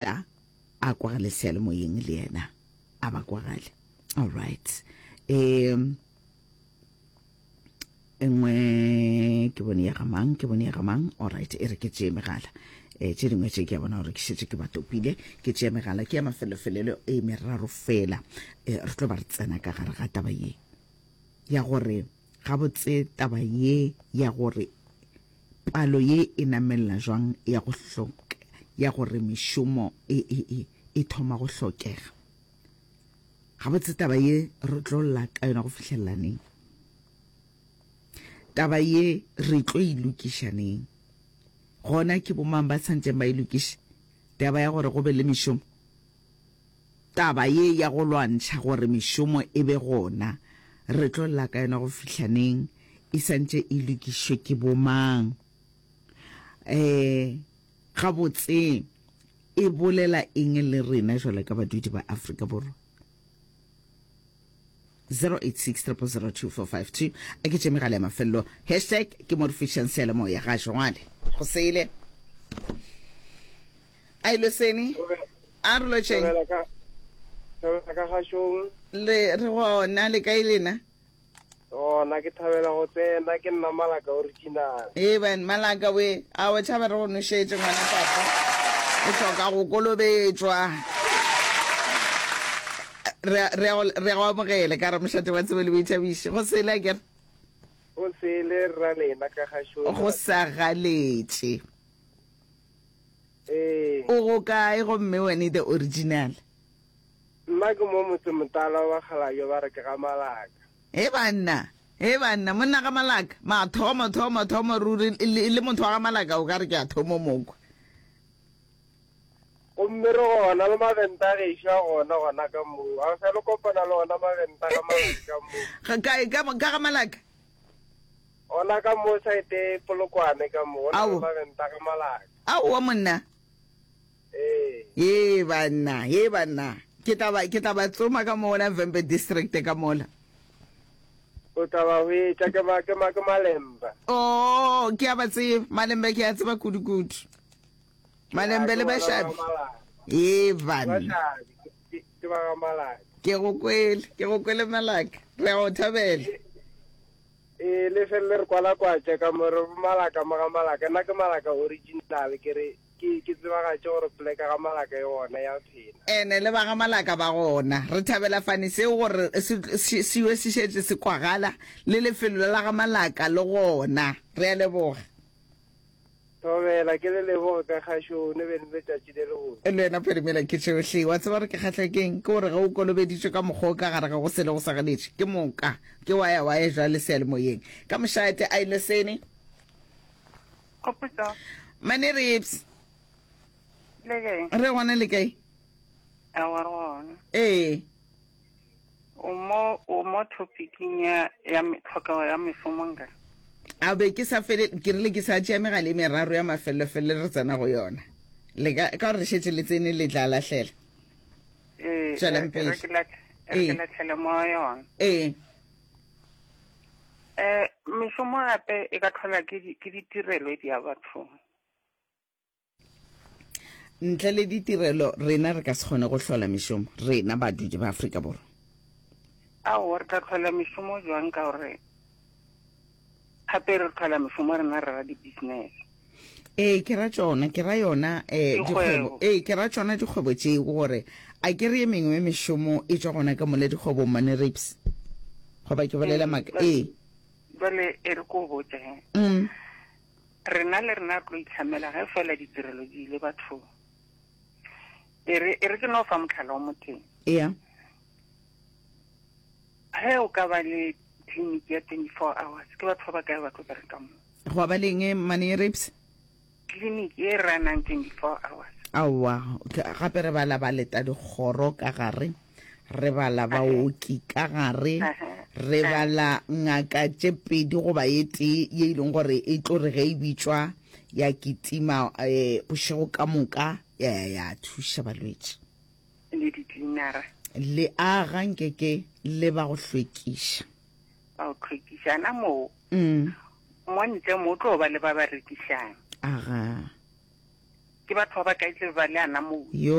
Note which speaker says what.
Speaker 1: A kwagale seyalemoyeng le yena a ba kwagale. All right. Um engwe ke bone ya ga mang ke bone ya ga mang all right e re ke tšee megala um tše dingwe tše ke a bona gore ke šetše ke ba topile ke tšee megala ke ya mafelofelelo e meraro fela um re tlo ba re tsena ka gare ga taba ye ya gore gabotse taba ye ya gore Palo ye e namelela jwang ya go hloka ya gore mešomo e, e, e, e thoma go hlokega? Gabotse taba ye re tlo lla ka yona go fihlelela neng? Taba ye re tlo e lokiša neng? Gona ke bomang ba tshwanetseng ba e lokiše taba ya gore go be le mešomo? Taba ye ya go lwantšha gore mešomo e be gona, re tlo lla ka yona go fihla neng? E santše e lokišwe ke bomang? Um gabotse e bolela eng le rena jwalo ka badudi ba Afrika Borwa? 086 000 2452 a ke tše megala ya mafelelo hashtag ke mo re fišang seyalemoya ga jwale go sele a ilo sene a re lotšheng
Speaker 2: Thabela ka gašong.
Speaker 1: Le re gona le kae lena?
Speaker 2: Gona ke thabela go tsena ke nna Malaka original.
Speaker 1: Ee ban Malaka we a o tšhaba re go nošetše ngwana papa. O hloka go kolobetšwa. Re re re go amogele ka re mošate wa tsebo le boithabišo. Go sele a kere?
Speaker 2: Go sele rra lena ka gašong.
Speaker 1: Go sa galetše.
Speaker 2: Ee.
Speaker 1: O go kae gomme wene the original?
Speaker 2: Nna ke mo motsemotala wa bakgalabje ba re ke ga Malaka.
Speaker 1: He banna, he banna, monna ga Malaka, mathomo, thomo, thomo ruri, le, le motho wa ga Malaka o ka re ke a thomo mokwa.
Speaker 2: Gomme re gona le maventa a gešo a gona gona ka moo. A o sa le kopana le ona maventa ga Malaka ka moo?
Speaker 1: Ga kae, ka, ka ga Malaka?
Speaker 2: Gona ka mo saete Polokwane ka mo, go na le maventa ga Malaka.
Speaker 1: Aowa monna.
Speaker 2: Ee.
Speaker 1: Ye banna, ye banna. Ke tla ba, ke tla ba tsoma ka mo gona Vhembe district ka mola.
Speaker 2: O tla ba hwetša, ke ma, ke ma, ke Malemba.
Speaker 1: Oh, ke a ba tseba, Malemba ke a tseba kudu kudu. Malembe le Bashabi. Ye banna.
Speaker 2: Bashabi, ke ba ga Malaka.
Speaker 1: Ke go kwele, ke go kwele Malaka. Re a go thabela.
Speaker 2: Ee, le felele re kwalakwatša ka mo re Malaka mo ga Malaka. Nna ke Malaka original, ke re ke ke tsebagatše gore poleka ga Malaka e gona ya phela.
Speaker 1: Ene le ba ga Malaka ba gona. Re thabela fane seo gore se se se se šetše se kwagala le lefelo la ga Malaka le gona. Re a leboga.
Speaker 2: Thobela, ke le leboge ka kgašo, ne be le letšatši le lebotse.
Speaker 1: Le wena Phedimela ke tšohle. Wa tseba gore ke kgahla ke'ng? Ke gore ge o kolobeditšwe ka mokgwa o ka gare ga go sele go sa galetše, ke moka ke wa ya wa ya jwale seyalemoyeng. Ka mošate, a ile sene.
Speaker 3: Khopotso.
Speaker 1: Mane Rips.
Speaker 3: Le kae?
Speaker 1: Re gona le kae?
Speaker 3: Aowa re gona.
Speaker 1: Ee.
Speaker 3: O mo o mo topicing ya ya tlhokego ya mešomo nka.
Speaker 1: A be ke sa fele ke rile ke sa tšea megala e meraro ya mafelelo-felelo re tsena go yona. Le ka ka gore re šetše le tsene le tla lahlela.
Speaker 3: Ee,
Speaker 1: Tšwelang
Speaker 3: e
Speaker 1: pele.
Speaker 3: re ke latlhe e re ke
Speaker 1: Ee.
Speaker 3: latlhele mo yona.
Speaker 1: Ee.
Speaker 3: Eh mešomo gape e ka tlhola ke di ke ditirelo di ya bathong.
Speaker 1: Ntle le ditirelo, rena re ka se kgone go hlola mešomo, rena badudi ba Afrika Borwa.
Speaker 3: Aowa, re tla hlola mešomo jwang ka gore gape re hlola mešomo rena re ra di-business.
Speaker 1: Ee, ke ra tšona, ke ra yona eh, dikgwebo. Ee, ke ra tšona dikgwebo tšeo gore a ke re ye mengwe mešomo e tšwa gona ka mole dikgwebong mane rapes. Goba ke bolela maaka? Ee.
Speaker 3: Jwale e re ko botse.
Speaker 1: Mm.
Speaker 3: Rena le rena re tlo itlhamela ge fela ditirelo di ile bathong. E re, e re ke no fa mohlala o motee.
Speaker 1: Ea.
Speaker 3: Ge o ka ba le tleliniki ya 24 hours, ke batho ba ba kae ba tlo bereka mo?
Speaker 1: Gwa ba leng mane rapes?
Speaker 3: Tleliniki e runang 24 hours.
Speaker 1: Aowa, gape re bala ba leta dikgoro ka gare. Re bala baoki ka gare, re bala ngaka tše pedi goba ye tee ye e leng gore e tlo re ge e bitšwa ya kitima um bošego ka moka ya ya ya thuša balwetši.
Speaker 3: Le diklinara.
Speaker 1: Le aga nke ke le ba go hlwekiša.
Speaker 3: Ba go hlwekiša. Na moo,
Speaker 1: Mm.
Speaker 3: mo ntle mo o tlo ba le ba ba rekišang.
Speaker 1: Aga.
Speaker 3: Ke batho ba ba kae tle ba le ana moo?
Speaker 1: Yo.